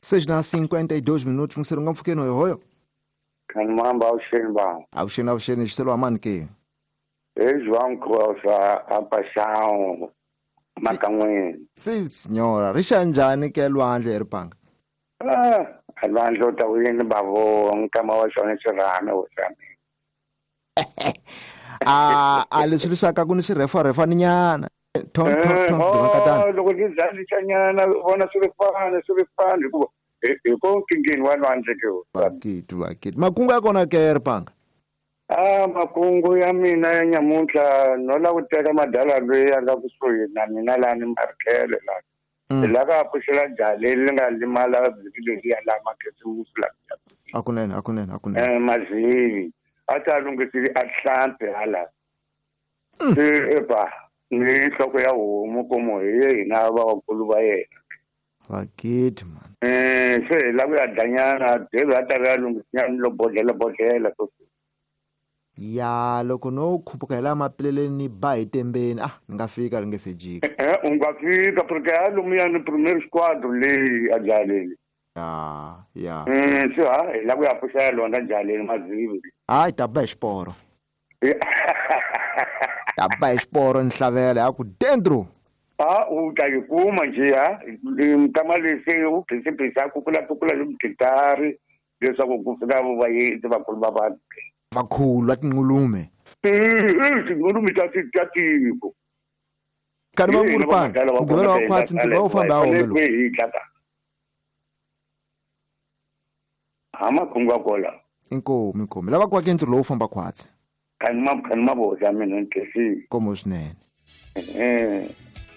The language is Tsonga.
6:52 minutos msero nga mpfukeni hoyohoyo. Khanimamba, avuxeni vanhu. Avuxeni, avuxeni, xiselo wa mani ke? Hi João Crosa a Paixão Makan'weni. Si signora, ri xa njhani ke lwandle hi ripanga? Ah, lwandle u ta wini bavo nkama wa xona xirhami wo xa mina. A leswi leswaku ku ni swirhefarhefani nyana. Ton ton ton timhaka. Loko ndzi dlalisa vona swi ri fani swi ri fani hikuva hi ko nkingeni wa lwandle ke. Vakiti vakiti. Makungu ya kona ke ripanga? A makungu ya mina ya nyamuntlha no lava ku teka madala loyi a nga kusuhi na mina lani Markhele lani. Hi lava ka pfuxela jaha leri ri nga limala vhiki leriya la makhisimusi la. Akunene, akunene, akunene. Mazivi a ta lunghisile a hlampi hala. Se eba ni nhloko ya homu komo hi ye hina vakulu va yena. Vakiti man. Se hi lava ku ya dlanyana David a ta ya lunghisinyana lo bodlhela bodlhela so. Ya loko no khuphuka hi laha mapileleni ni ba hi tembeni ni nga fika ri nge se jika. U nga fika porque a lomuya ni premier squadron leyi a jaleni. Ya ya. Se ha hi lava ku ya pfuxela lona jaleni Mazivi. Hayi ta ba hi xiporo. Ta ba hi xiporo ni hlavela ya ku dentro. A u ta yi kuma njhe ha nkama lexi u phisi a kukula kukula hi gitari leswaku ku fika vayeti vakulu va vanhu. Vakhulu va tinqulume. Tinqulume ta tiko. Karhi va ku ripanga mugqivela wa khwatsi ntirho wa famba ha wona. Ha makungu ya kola. Inkomu inkomu. Lava ku aka ntirho lowu famba khwatsi. Khani ma voxa mina ntlhesi. Nkomo swinene.